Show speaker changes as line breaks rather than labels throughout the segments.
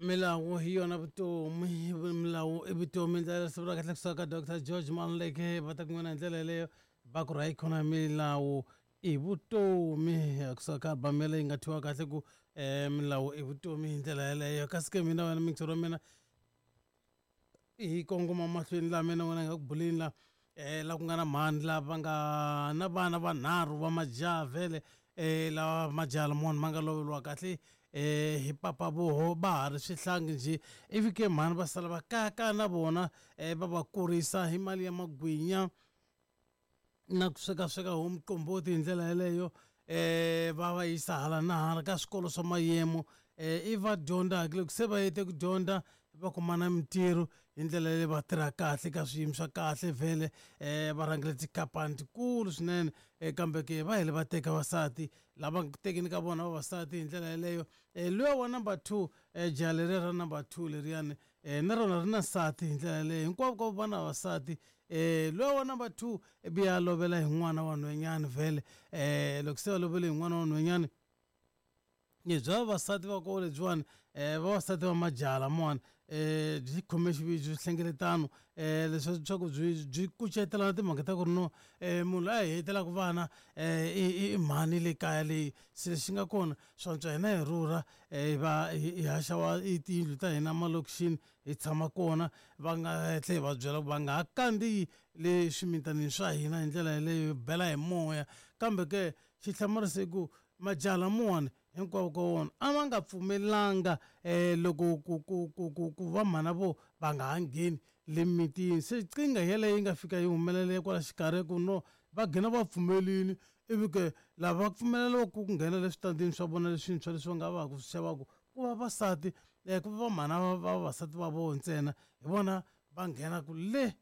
Milawu hi yona vutomi, milawu i vutomi. Ndlela siku ra kahle kusuka ka Dr George Maluleke va ta kun'wana hi ndlela yeleyo va ku ra yi milawu i vutomi kusuka ka album yaleyo yi nga thyiwa kahle ku milawu i vutomi hi ndlela yeleyo. Kasi ke mina wena mixer wa mina hi kongoma mahlweni laha mina wena hi nga ku buleni la la ku nga na mhani lava nga na vana vanharhu va majaha vhele lawa majaha lamawani ma nga loveriwa kahle hi papa voho va ha ri swihlangi njhe ivi ke mhani va sala va kayakaya na vona va va kurisa hi mali ya magwinya na ku swekasweka homu qomboti hi ndlela yeleyo va va yisa hala na hala ka swikolo swa mayemo i va dyondzaka loko se va hete ku dyondza va kuma na mintirho hi ndlela leyi va tirha kahle ka swiyimo swa kahle vhele va rhangele tikhampani tikulu swinene kambe ke va hele va teka vasati lava tekeni ka vona vavasati hi ndlela yeleyo luya wa number 2 jaha leriya ra number 2 leriyani na rona ri na nsati hi ndlela yeleyo hinkwavo ka va na vavasati luya wa number 2 ivi ya lovela hi n'wana wa nhwenyani vhele loko se va lovele hi n'wana wa nhwenyani bya vavasati va koho lebyiwani vavasati va majaha lamawani byi khome byi hlengeletano leswi swa ku byi byi kucetelana timhaka ta ku ri no munhu loyi a hi hetelaka vana i mhani le kaya leyi se lexi nga kona swantswa hina hi rhurha hi va hi haxa wa i tiyindlu ta hina malokixini hi tshama kona va nga tlhe hi va byela ku va nga ha kandziyi le swimitanini swa hina hi ndlela yeleyo hi bela hi moya kambe ke xi hlamarisa i ku majaha lamawani hinkwavo ka wona a va nga pfumelanga loko ku ku ku ku ku va mhana vo va nga ha ngheni le mimitini se qingha yeleyo yi nga fika yi humelela kwala xikarhi ku no va gina va pfumelini ivi ke lava va pfumeleriwa ku nghena le switandini swa vona leswintshwa leswi va nga va ku swi xavaku ku va vasati ku va mhana va vavasati va vona ntsena hi vona va nghenaku le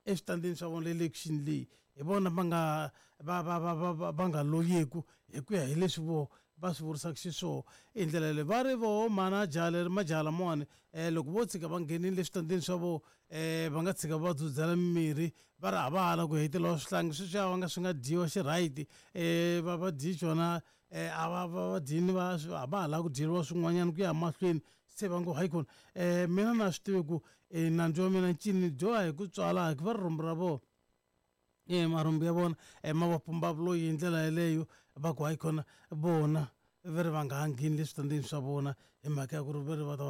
eswitandini swa vona le lekixini leyi hi vona va nga va va va va va va nga loyeku hi ku ya hi leswi vo va swi vurisaka xiswona hi ndlela yaleyo va ri voho mhana jaha leri majaha lamawani loko vo tshika va nghenile eswitandini swa vona va nga tshika va dzudzela mimirhi va ri a va ha la ku hetelela swihlangi sweswiya va nga swi nga dyiwa xi right va va dyi xona a va va va dyini va a va ha lavi ku dyeriwa swin'wanyana ku ya mahlweni se va ngo hayikhona mina na swi tivi ku nandzu wa mina ncini dyoha hi ku tswala va ri rhumbu ra vona marhumbu ya vona ma va pumba vuloyi hi ndlela yeleyo va ku hayikhona vona va ri va nga ha ngheni le switandini swa vona hi mhaka ya ku ri va ri va ta va.